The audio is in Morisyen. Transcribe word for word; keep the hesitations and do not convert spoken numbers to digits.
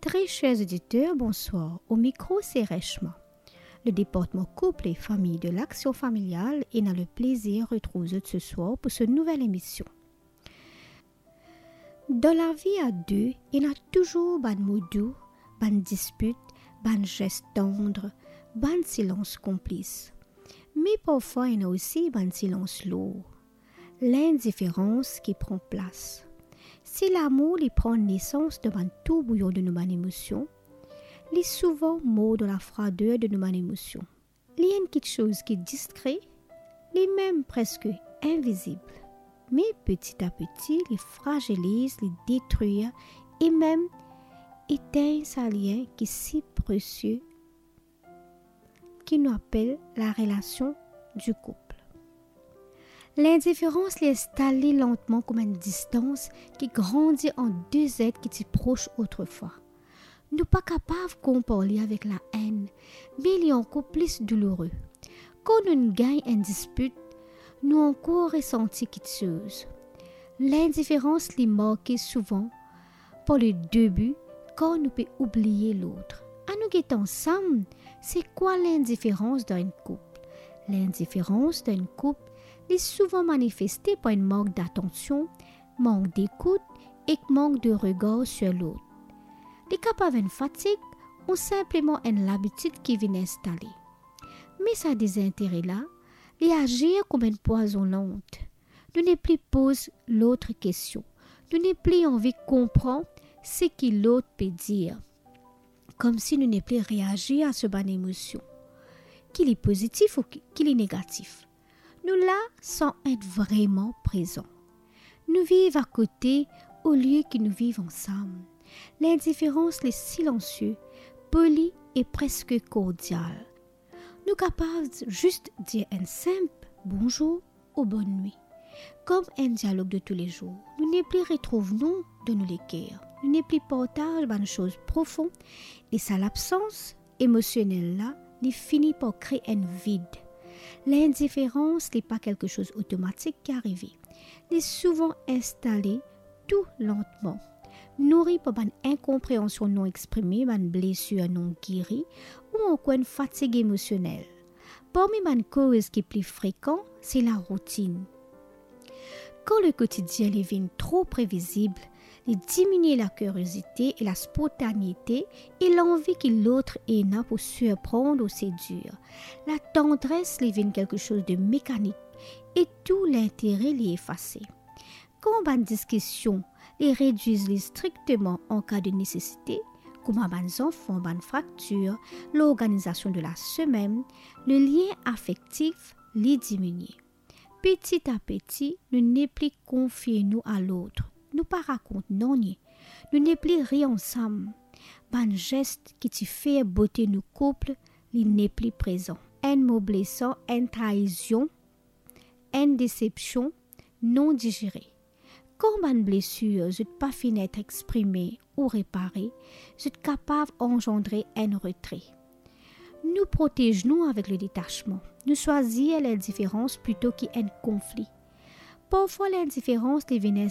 Très chers auditeurs, bonsoir. Au micro, c'est Reshma. Le département couple et famille de l'Action familiale ena leplezir retrouv zot seswar pou so nouvel emision. Dan lavi a de, ena touzour bann mo dou, bann dispit, bann zes tandre, bann silans konplis. Me parfwa ena osi bann silans lour. Lindiferans ki pran plas. Si lamour li pran nesans dan bann tourbouyon de nou bann emosion, li souvan mor dan lafrader de nou bann emosion. Li enn kiksoz ki diskre, li mem preske invizib. Me peti a peti, li fraziliz, li detrir e mem etegn sa lien ki si presie ki nou apel la relasion di koup. Lindiferans li instal li lantman kouma enn distans ki grandi ant de zet ki ti pros otrefwa. Nou pa kapav konpar li avek laenn, me li ankor plis douloure. Kan nou gagn enn dispit, nou ankor resanti kiksoz. Lindiferans li marke souvan par le debi, kan nou pe oubliye lot. Anou get ansam, se kwa lindiferans dan enn koup? Lindiferans dan enn koup, li souvan manifeste par enn mank datansion, mank dekout ek mank de regar sir lot. Li kapav enn fatig ou sinpleman enn labitid ki vinn instale. Me sa dezintere la, li azir kouma enn pwazon lant. Nou nepli poz lot kestion. Nou nepli anvi konpran seki lot pe dir. Koumsi nou nepli reazir a so bann emosion, ki li pozitif ou ki, ki li negatif. Nou la san et vreman prezan. Nou viv akote olie ki nou viv ansam. Lindiferans li silansie, poli e preske kordial. Nou kapav zis dir enn sinp bonzour ou bonn nwi. Kom enn dialog de toulezour, nou nepli retrouv nou dan nou leker, nou nepli partaz bann soz profon, e sa labsans emosionel la, li fini par kre enn vid. Lindiferans, li pa kelke soz otomatik ki arive. Li souvan instale tou lantman, nouri par bann inkonpreansion non exprime, bann blesir non geri, ou ankor enn fatig emosionel. Parmi bann koz ki pli frekan, se laroutinn. Kan lekotidien li vinn tro previzib, li diminie lakiriozite e laspontanite e lanvi ki lot ena pou sirprann ou sedir. Latandres li vinn kelke soz de mekanik e tou lintere li efase. Kan bann diskision li redwir li strikteman an ka de nesesite, kouma bann zanfan, bann fraktir, lorganizasion de lasemenn, le lien afektif li diminie. Peti a peti, nou nepli konfie nou a lot, nou pa rakont nanye, nou nepli ri ansam. Bann zes ki ti fer bote nou koup, li nepli prezan. Enn mo blesan, enn traizion, enn desepsion non dizere. Kan bann blesir zot pa finn et exprime ou repare, zot kapav anzandre enn retre. Nou protez nou avek le detasman. Nou swazir lindiferans plito ki enn konfli. Parfwa lindiferans li vinn